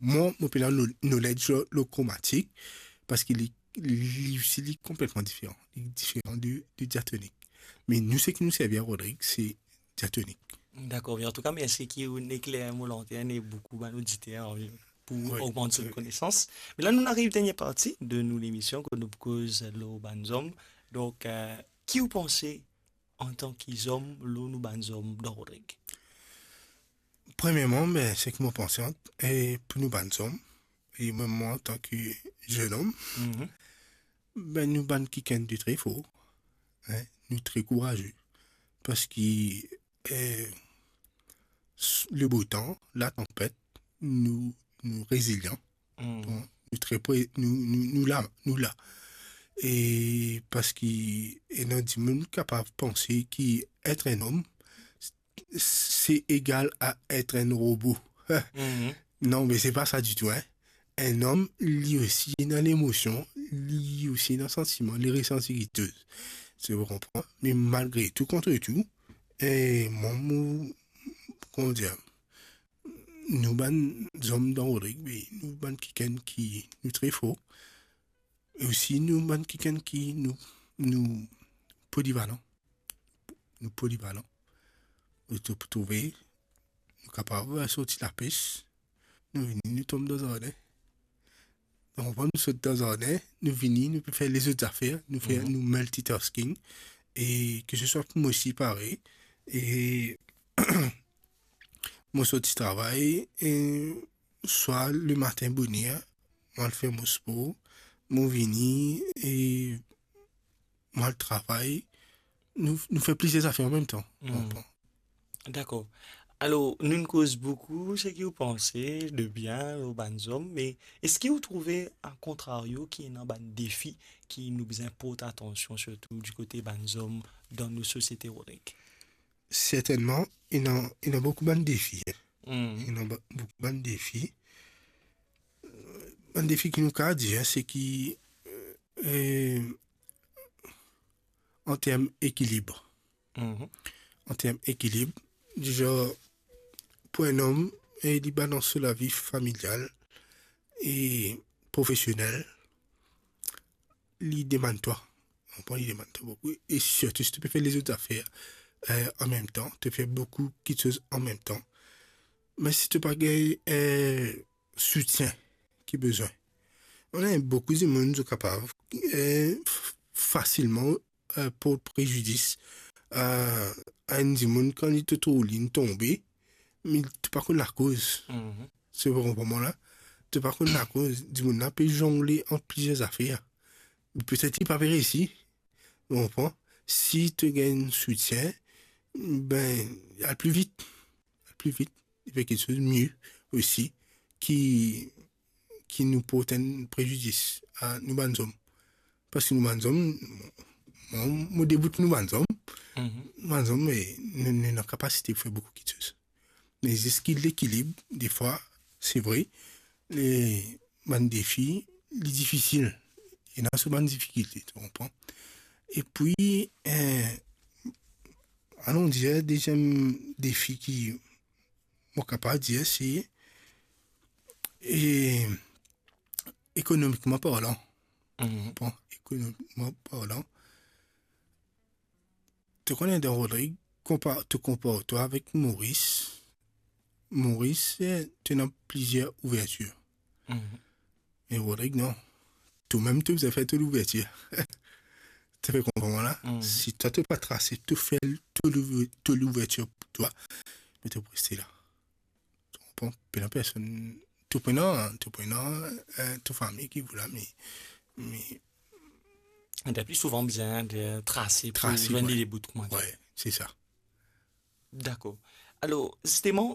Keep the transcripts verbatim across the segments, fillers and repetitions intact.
mwa, mo pena no-, knowledge lor, lor kromatik, parski li, li osi, li konpletman diferan. Li diferan de, de diatonik. Me nou, seki nou servi ar Rodrig, se diatonik. Dakor, me antouka, mersi ki ou'nn ekler mo lantern e boukou bann oditer, an, pou Wi. ogmant zot Wi. konesans. Me la, nou ariv dernie parti de nou lemision, kot nou koz lor bann zom. Donk, eh, ki ou panse antan ki zom, lor nou bann zom dan Rodrig? Premierman, be, seki mo panse ant-, e pou nou bann zom, e mem mwa antan ki zennom, Mhm. be, nou bann kikenn de tre for, en, nou tre kouraze, parski, eh, s-, le bo tan, latanpet, nou, nou rezilian. Mm. Bon, nou tre pre-, nou, nou, nou la, nou la. E parski ena dimoun kapav panse ki et enn om, s-, se egal a et enn robo. Mhm. Non, me se pa sa ditou, en. Enn om, li osi ena lemosion, li osi ena santiman, li resanti kiksoz. Se, ou konpran? Me malgre tou, kontre tou, e mwa, mo, kouma dir, nou bann zom dan Rodrig, be, nou bann kikenn ki nou tre for. E osi nou bann kikenn ki nou, nou polivalan. Nou polivalan. Ou tou pou trouve, nou kapav, eh, sorti lapes, nou vini, nou tom dan zardin. Donk, nou sot dan zardin, nou vini, nou pe fer lezot zafer, nou fer, Mhm. nou multitasking. E ke se swa pou mwa osi parey. E mo sorti travay, e swa lematin boner, mo al fer mo spor, mo vini, e mo al travay, nou, nou fer plizier zafer anmemtan. Hmm. Konpran? Dakor. Alor, nou'nn koz boukou seki ou panse de bien lor bann zom, me eski ou trouve, a kontrario, ki ena bann defi ki nou bizin port atansion, sirtou di kote bann zom dan nou sosiete Rodrig? Sertennman, ena, ena boukou bann defi, en. Hmm. Ena ba-, boukou bann defi. Bann defi ki nou kapav dir, en, se ki, eh, an term ekilib. Mhm. An term ekilib, dizon, pou enn om, e li balans so lavi familial e profesionel, li demann twa. Konpran, li demann twa boukou. E sirtou si to pe fer lezot zafer, eh, anmemtan, to fer boukou kiksoz anmemtan. Me si to pa gagn, eh, soutien ki bizin. Ena boukou dimoun, zot kapav, eh, f-, fasilman, eh, port prezidis a, a enn dimoun kan li to trouv li tonbe, me to pa konn lakoz. Mhm. Se, ou konpran mwa la? To pa konn lakoz, dimoun la pe zongle ant plizier zafer. Petet li pa pe resi, ou konpran? Si to gagn soutien, be, al pli vit. Al pli vit, li fer kiksoz mie osi, ki, ki nou port enn prezidis a nou bann zom. Parski nou bann zom, mwa, mo debout nou bann zom, Mhm. nou bann zom, me nou, nou ena kapasite pou fer boukou kiksoz. Me zis ki lekilib, defwa, se vre, le, bann defi, li difisil. Ena so bann difikilte, to konpran? Epi, eh, alon dir, deziem defi ki mo kapav dir, se, eh, ekonomikman parlan. Mhm. Bon, ekonomikman parlan, to kone dan Rodrig, konpa-, to konpar twa avek Moris. Moris, eh, to ena plizier ouvertir. Mhm. Me Rodrig, non. Tomem to bizin fer to louvertir. To pe konpran la? Mhm. Si twa to pa trase, to fer to louv-, to louvertir pou twa, me to pou reste la. To konpran? Pena personn, to pena, to pena, eh, to fami ki pou la, me, me T'as pli souvan bizin de trase pou Trase, zwenn wi. Li lebout, kouma dir. Wi, se sa. Dakor. Alor, zisteman,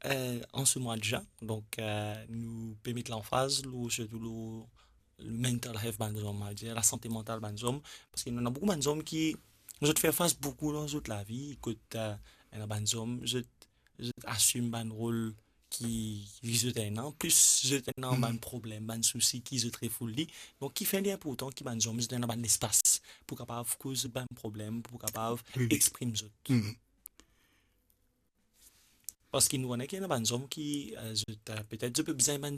eh, an se mwa de zin, donk, eh, nou pe met lanfaz lor, sirtou lor mental health bann zom, on va dire, lasante mantal bann zom, parski nou ena boukou bann zom ki, zot fer fas boukou dan zot lavi, kot, eh, ena bann zom, zot, zot asim bann rol ki, ki zot ena, plis zot ena Hmm. bann problem, bann sousi ki zot refoul li. Donk, kifer li inportan ki bann zom zot ena bann lespas pou kapav koz bann problem, pou kapav Wi, wi. Exprim zot? Hmm. Parski nou kone ki ena bann zom ki, eh, zot, eh, petet zot pe bizin bann